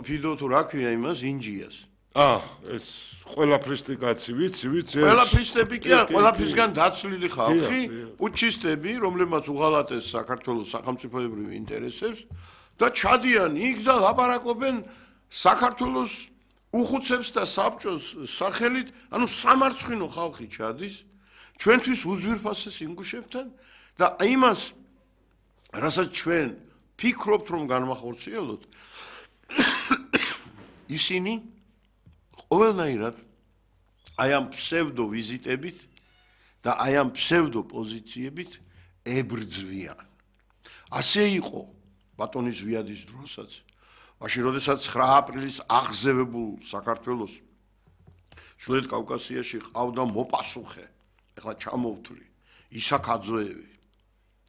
ფიდო თუ რა ქვია იმას ინჯიას. ეს ყველაფრის კაცი ვიცი. ყველაფრისტები კი არა, ყველაფრისგან დაცლილი ხალხი, პუჩისტები, რომლებმაც უღალატეს საქართველოს სახელმწიფოებრივ ინტერესებს და ჩადიან იქ და ლაპარაკობენ საქართველოს უხუცებს და საბჭოს სახელით, ანუ სამარცხვინო ხალხი ჩადის ჩვენთვის უძვირფასეს ინგუშებთან და იმას რასაც ჩვენ ფიქრობთ რომ განმახორციელოთ ისინი ყველანაირად აი ამ ფსევდო ვიზიტებით და აი ამ ფსევდო პოზიციებით ებრძვიან. ასე იყო ბატონი ზვიადის დროსაც, მაშინ როდესაც 9 აპრილის აღზევებულ საქართველოს ჩრდილოეთ კავკასიაში ყავდა მოპასუხე, ეხლა ჩამოვთვლი, ისაკ აძოევი,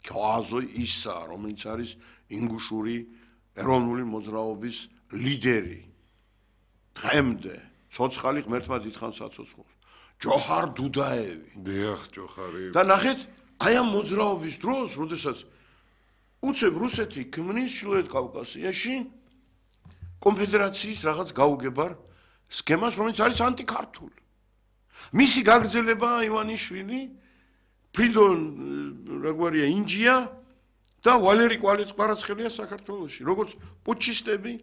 ქააზო ისა, რომელიც არის ინგუშური ეროვნული მოძრაობის ლიდერი. დღემდე ცოცხალი ღმერთმა დიდხანს აცოცხლოს. ჯოჰარ დუდაევი. დიახ, ჯოჰარი. და ნახეთ, აი ამ მოძრაობის დროს, როდესაც უცებ რუსეთი ქმნის ჩრდილოეთ კავკასიაში კონფედერაციის რაღაც გაუგებარ სქემას, რომელიც არის ანტიქართული. მისი გაგრძელება ივანიშვილი, ფრიდონ რაგვარია ინჯია და ვალერი კვარაცხელია საქართველოში, როგორც პუჩისტები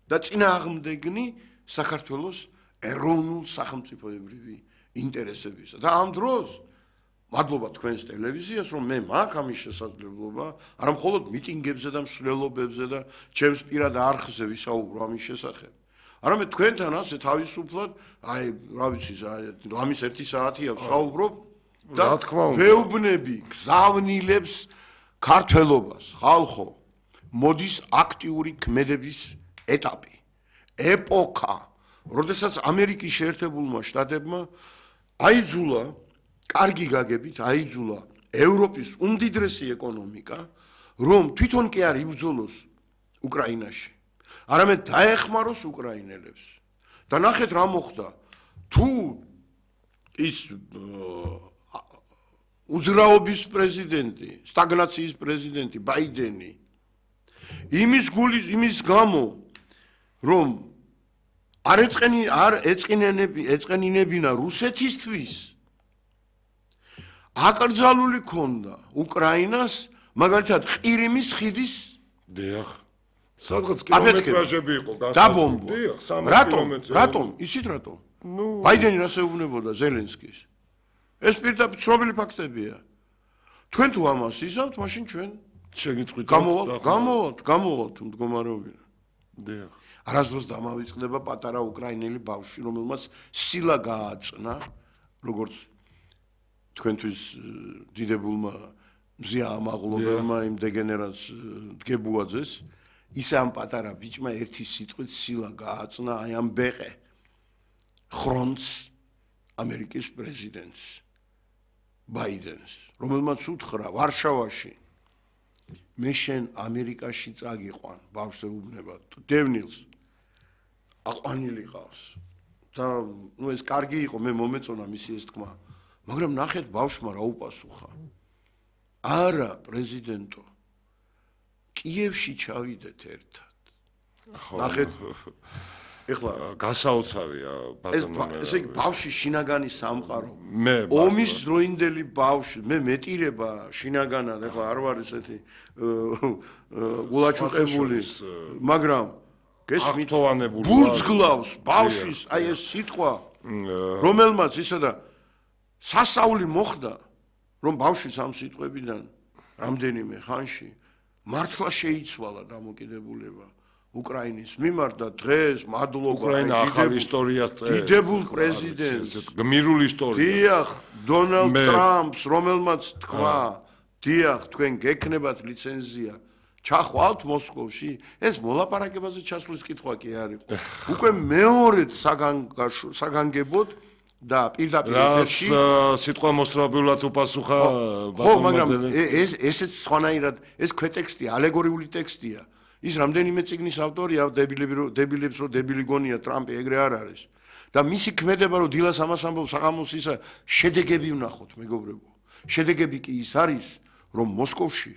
და წინააღმდეგნი საქართველოს ეროვნულ სახელმწიფოებრივი ინტერესებისა. და ამ დროს მადლობა თქვენს ტელევიზიას, რომ მე მაქვს ამის შესაძლებლობა, არა მხოლოდ მიტინგებზე და მსვლელობებზე და ჩემს პირად არხზე ვისაუბრო ამის შესახებ. არამედ თქვენთან ასე თავისუფლად, აი, რა ვიცი, ამის 1 საათია ვსაუბრობ და ვეუბნები გზავნილებს ქართველობას, ხალხო, მოდის აქტიური ქმედების ეტაპი, ეპოქა, როდესაც ამერიკის შეერთებულმა შტატებმა აიძულა კარგი გაგებით აიძულა ევროპის უმდიდრესი ეკონომიკა, რომ თვითონ კი არ იბრძოლოს უკრაინაში, არამედ დაეხმაროს უკრაინელებს. და ნახეთ რა მოხდა, თუ ის უძრაობის პრეზიდენტი, სტაგნაციის პრეზიდენტი ბაიდენი იმის გამო, რომ არ ეწყენინებინა რუსეთისთვის აკრძალული ქონდა უკრაინას, მაგალითად ყირიმის ხიდის დიახ, სადღაც კილომეტრაჟები იყო დაბომბვა. რატომ? იცით რატომ? ბაიდენი რას ეუბნებოდა ზელენსკის? ეს პირდაპირ ცნობილი ფაქტებია. თქვენ თუ ამას იზამთ, მაშინ ჩვენ შეგიტყვით გამოვალთ მდგომარეობიდან. დიახ. არასდროს დამავიწყდება პატარა უკრაინელი ბავშვი, რომელმაც სილა გააწნა, როგორც თქვენთვის დიდებულმა მზია ამაღლობელმა იმ დეგენერატს დგებუაძეს, ისე ამ პატარა ბიჭმა ერთი სიტყვით სილა გააწნა აი ამ ბეყე ხრონც ამერიკის პრეზიდენტს ბაიდენს, რომელმაც უთხრა ვარშავაში მე შენ ამერიკაში წაგიყვან, ბავშვს ეუბნება დევნილს აყვანილი ყავს და ეს კარგი იყო, მე მომეწონა მისი ეს თქმა. მაგრამ ნახეთ ბავშვმა რა უპასუხა. არა, პრეზიდენტო, კიევში ჩავიდეთ ერთად. ნახეთ, ეხლა გასაოცარია ბატონო. ესე იგი ბავშვი შინაგანი სამყარო. ომის დროინდელი ბავშვი, მე მეტირება შინაგანად, ეხლა არ ვარ ესეთი გულაჩუყებული, მაგრამ გესმით, ბურძგლავს ბავშვის აი ეს სიტყვა, რომელმაც ისა და სასწაული მოხდა, რომ ბავშვის ამ სიტყვებიდან რამდენიმე ხანში მართლა შეიცვალა დამოკიდებულება უკრაინის მიმართ და დღეს მადლობა უკრაინა ახალ ისტორიას წერს. დიდებულ პრეზიდენტს, გმირული ისტორია. დიახ, დონალდ ტრამპს, რომელმაც თქვა, დიახ, თქვენ გექნებათ ლიცენზია, ჩახვალთ მოსკოვში, ეს მოლაპარაკებაზე ჩასვლის კითხვა კი არ იყო. უკვე მეორედ საგანგებოდ და პირდაპირ ეთერში სიტყვა მოსწრაფულად უპასუხა ხო, მაგრამ ესეც სხვანაირად, ეს ქვეტექსტია, ალეგორიული ტექსტია. ის რამდენიმე წიგნის ავტორია, დებილებს რომ დებილი გონია ტრამპი ეგრე არ არის. და მისი ქმედება რომ დილას ამას ამბობს საღამოს ისა შედეგები ვნახოთ, მეგობრებო. შედეგები კი ის არის, რომ მოსკოვში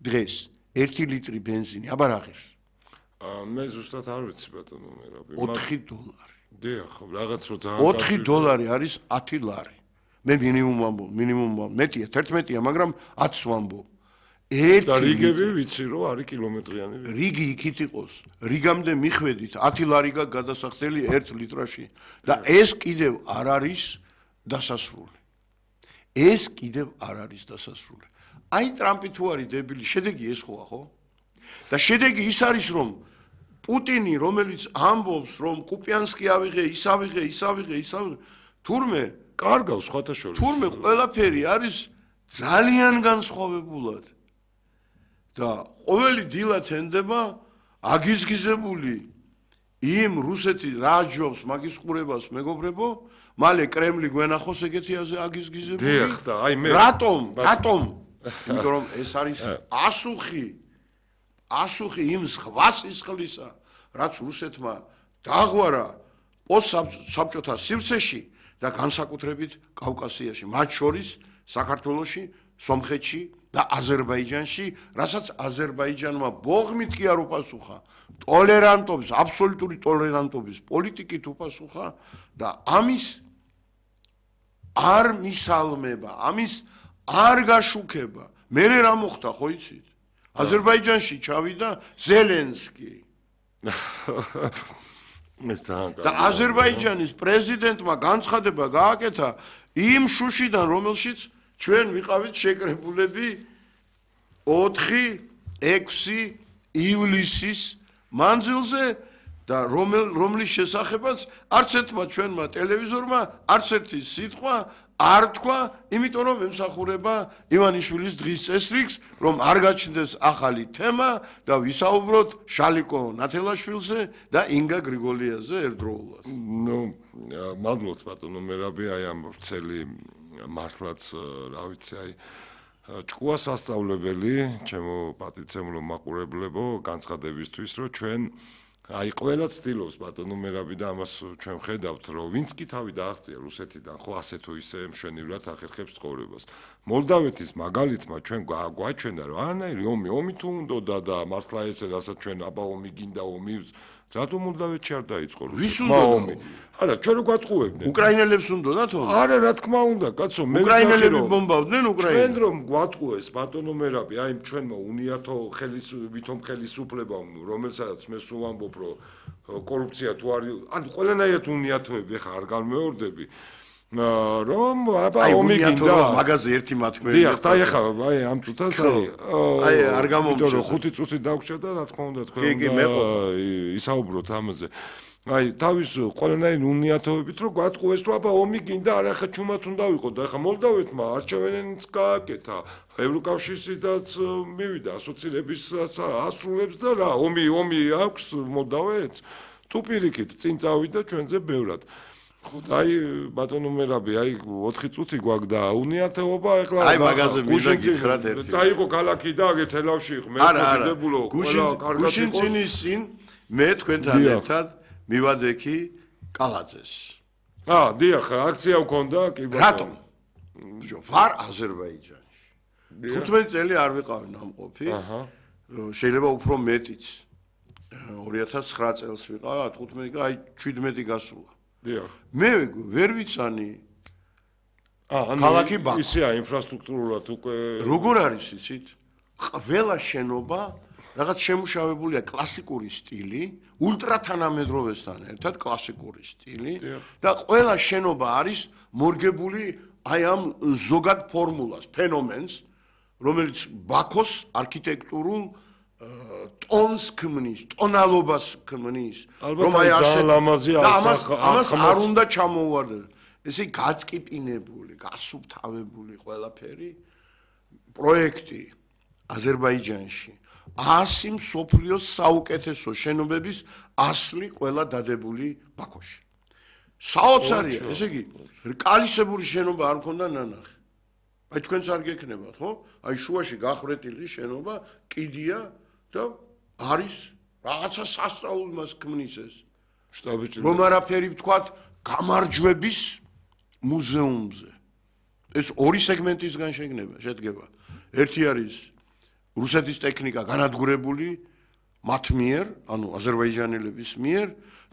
დღეს 1 ლიტრი ბენზინი აბარ აღირს. მე ზუსტად არ ვიცი ბატონო მერაბი. $4. დიახ, რაღაც რო ძალიან $4 არის 10 ლარი. მე მინიმუმ მეტია 11-ია, მაგრამ 10 ვამბობ. და რიგები ვიცი რომ არის კილომეტრიანი. რიგი იქით იყოს. რიგამდე მიხვედით 10 ლარი გადასახდელი 1 ლიტრაში და ეს კიდევ არ არის დასასრული. აი ტრამპი თუ არის დებილი, შედეგი ეს ხოა, ხო? და შედეგი ის არის რომ პუტინი რომელიც ამბობს რომ კუპიანსკი ავიღე, ის ავიღე, თურმე კარგავს სხვათა შორის. თურმე ყველაფერი არის ძალიან განსხვავებულად. და ყოველი დილა თენდება აგიზგიზებული იმ რუსეთი რა ჯობს მაგის ყურებას მეგობრებო, მალე კრემლი გვენახოს ეგეთი აგიზგიზებული. დიახ და აი მე რატომ? იმიტომ რომ ეს არის ასუხი იმ სხვა სისხლისა, რაც რუსეთმა დააღვარა პოსტსაბჭოთა სივრცეში და განსაკუთრებით კავკასიაში, მათ შორის საქართველოში, სომხეთში და აზერბაიჯანში, რასაც აზერბაიჯანმა ბოღმით კი არ უპასუხა, ტოლერანტობის, აბსოლუტური ტოლერანტობის პოლიტიკით უპასუხა და ამის არ მისალმება, ამის არ გაშუქება. მე რა მოხდა, ხო იცით? აზერბაიჯანში ჩავიდა ზელენსკი. და აზერბაიჯანის პრეზიდენტმა განცხადება გააკეთა იმ შუშიდან, რომელშიც ჩვენ ვიყავით შეკრებულები 4-6 ივლისის მანძილზე და რომლის შესახებაც არც ერთმა ჩვენმა ტელევიზორმა არც ერთი სიტყვა არ თქვა, იმიტომ რომ ემსახურება ივანიშვილის დღის წესრიგს, რომ არ გაჩნდეს ახალი თემა და ვისაუბროთ შალიკო ნათელაშვილზე და ინგა გრიგოლიაზე ერთდროულად. მადლობთ ბატონო მერაბი, აი ამ ვრცელი მართლაც რა ვიცი, აი ჭკუა სასწავლებელი, ჩემო პატივცემულო მაყურებლებო, განცხადებისთვის, რომ ჩვენ აი ყველა ცდილობს ბატონო მერაბი და ამას ჩვენ ხედავთ რომ ვინც კი თავი დააღწია რუსეთიდან ხო ასე თუ ისე მშვენივრად ახერხებს ცხოვრებას. მოლდავეთის მაგალითმა ჩვენ გვაჩვენა რომ არანაირი ომი თუ უნდოდა და მართლა ესე რასაც ჩვენ აბა ომი გინდა ომი რატომ მოლდავეთში არ დაიწყო რუსეთმა ომი? არა, ჩვენ რო გვატყუებდნენ. უკრაინელებს უნდათ ომი? არა, რა თქმა უნდა, კაცო, მე უკრაინელები ბომბავდნენ უკრაინას. ჩვენ რომ გვატყუეს ბატონო მერაბი, აი ჩვენმა უნიათო ხელისუფლებამ, რომელსაც მე სულ ვამბობ, რომ კორუფცია თუ არის, ანუ ყველანაირად უნიათოები ხა არ განმეორდები. რომ აბა ომი გინდა მაგაზე ერთი მათქმელი. დიახ, და ეხა აი ამ წუთას აი არ გამომწევს. იმიტომ რომ 5 წუთი დაგვრჩა და რა თქმა უნდა თქვენ ისაუბროთ ამაზე. აი თავის ყველანაირი უნიათოებით რომ გვატყუეს რომ აბა ომი გინდა არა ხა ჩუმად უნდა ვიყო და ხა მოლდავეთმა არჩევნებიც გააკეთა ევროკავშირშიც მივიდა ასოცირებისაც ასრულებს და რა ომი აქვს მოლდავეთს თუ პირიქით წინ წავიდა ჩვენზე ბევრად ხო და აი ბატონო მერაბი აი 4 წუთი გვაქვს და უნიათოობა ეხლა აი მაგაზე მინდა გითხრათ ერთი წაიღო ქალაქი და აგეთელავში მე მოგიდებულო ყველა კარგად იყო გუშინ წინ მე თქვენთან ერთად მივადექი კალაძეს. დიახ, აქცია ვქონდა, კი ბატონო. რატომ? ვარ აზერბაიჯანში. 15 წელი არ ვიყავი ნამყოფი. შეიძლება უფრო მეტიც. 2009 წელს ვიყავ, 15 აი 17 გასულა. დიახ. მე ვერ ვიცანი ქალაქი ბაქო. ისეა ინფრასტრუქტურულად უკვე როგორ არის იცით? ყველა შენობა რაღაც შემუშავებულია კლასიკური სტილი, ულტრათანამედროვესთან ერთად კლასიკური სტილი და ყველა შენობა არის მორგებული აი ამ ზოგად ფორმულას, ფენომენს, რომელიც ბაქოს არქიტექტურულ ტონს ქმნის, ტონალობას ქმნის, რომ აი ასე ამას არ უნდა ჩამოუვარდეს. ესე გაწკიპინებული, გასუფთავებული ყველაფერი პროექტი აზერბაიჯანში 100 მსოფლიოს საუკეთესო შენობების ასლი ყველა დადებული ბაქოში. საოცარია, ესე იგი, რკალისებური შენობა არ მქონდა ნანახი. აი თქვენც არ გექნებათ, ხო? აი შუაში გახრეტილი შენობა, კიდია და არის რაღაცა სასწაული მას ქმნის ეს. რომ არაფერი ვთქვათ, გამარჯვების მუზეუმზე. ეს ორი სეგმენტისგან შედგება. ერთი არის რუსეთის ტექნიკა განადგურებული მათ მიერ, ანუ აზერბაიჯანელების მიერ